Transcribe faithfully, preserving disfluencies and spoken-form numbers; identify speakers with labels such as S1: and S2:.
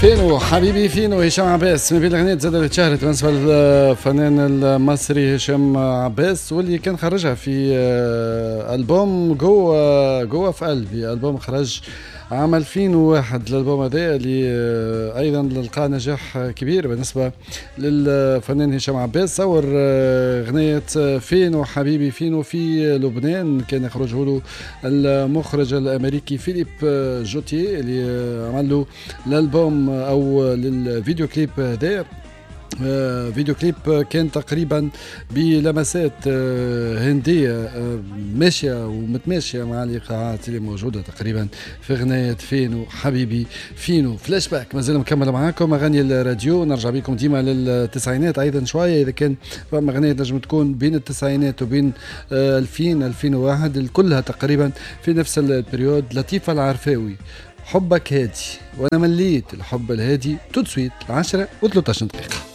S1: فينو حبيبي فينو هشام عباس من بين الاغنيات زاد اللي تشهرت بالنسبة للفنان المصري هشام عباس، واللي كان خرجها في آه، البوم جوا جوا في قلبي، البوم خرج عام ألفين وواحد. الالبوم هذا اللي آه، ايضا لقى نجاح كبير بالنسبة للفنان هشام عباس. صور آه، اغنية فينو حبيبي فينو في لبنان، كان يخرجه له المخرج الامريكي فيليب جوتيه اللي عمل له الالبوم او للفيديو كليب هذا. آه، فيديو كليب كان تقريبا بلمسات آه، هندية آه، ماشية ومتماشية مع الإيقاعات اللي موجودة تقريبا في غناية فينو حبيبي فينو. فلاش باك مازال مكمل معاكم أغاني الراديو، نرجع بكم ديما للتسعينات أيضا شوية، إذا كان فما أغنية تنجم تكون بين التسعينات وبين ألفين ألفين وواحد، كلها تقريبا في نفس ال période. لطيفة العرفاوي، حبك هادي، وانا مليت الحب الهادي. tout de suite، عشرة وثلاثطاش دقيقة.